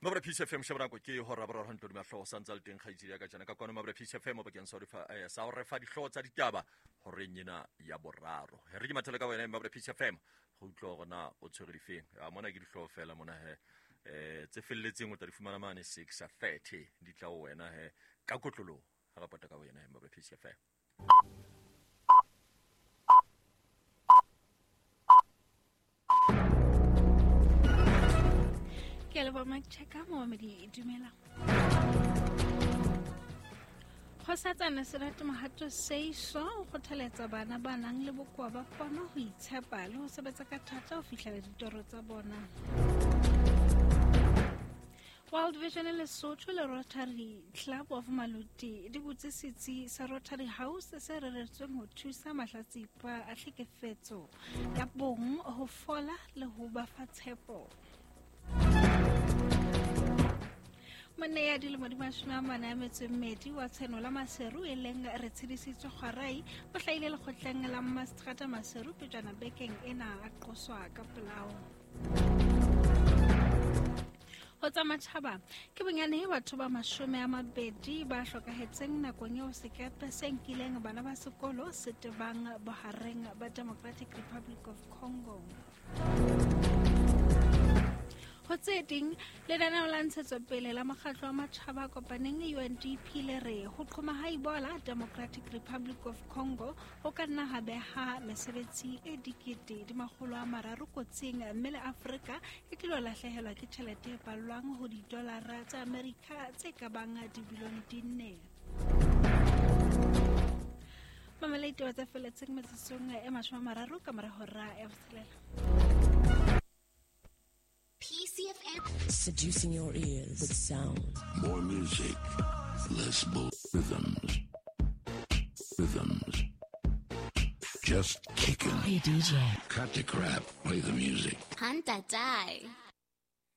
Mabra Peace FM, sheba nako ke hora boraro hantle hodima hlooho sa ntse a le teng kgaitsedi ya ka tjena ka kwano Mabra Peace FM bakeng sa ho re fa sa ho re fa dihlooho tsa ditaba horeng ena ya boraro. Re ke mathele ka wena Mabra Peace FM go utlwa hore na o tshwere difeng. A mona ke dihlooho fela mona he. Tse felletseng o tla di fumana mane 6:30 di tla ho wena he ka kotloloho ha re pota ka wena Mabra Peace FM. Ke a leboha Mike Checker, momamedi dumela. Kgosatsana Serati Mohato Seiso o kgothaletsa bana ba nang le bokoa ba pono ho itshepa le ho sebetsa ka thata ho fihlela ditoro tsa bona. World Vision Lesotho le Rotary Club of Maluti di butse setsi sa Rotary House se reretsweng ho thusa mahlatsipa a tlhekefetso ya bong ho fola le ho ba fa tshepo. Monna ya dilemo di 42 wa Tshenola Maseru e leng re tshedisitswe Kgwarai o hlahile lekgotleng la Mmaseterata Maseru pejana bekeng ena a qoswa ka polao. Ho tsa matjhaba ke bonyane batho ba 20 ba hlokahetseng nakong eo sekepe se nkileng bana ba sekolo se tebang bohareng ba Democratic Republic of Congo. Ho tse ding, lenaneo la ntshetsopele la mokgatlo wa matjhaba a kopaneng UNDP le re ho qhoma ha Ebola Democratic Republic of Congo ho ka nna ha beha mesebetsi e 330,000 kotsing mme le Afrika e tlilo lahlehelwa ke tjhelete e ballwang ho didolara tsa Amerika tse ka bang dibilione di 4. Mamela ditaba tse felletseng metsotsong e 30 ka mora hora ya botshelela. PCFM. Seducing your ears with sound. More music, less bull rhythms. Rhythms. Just kicking. Hey DJ. Cut the crap. Play the music. Hanta die.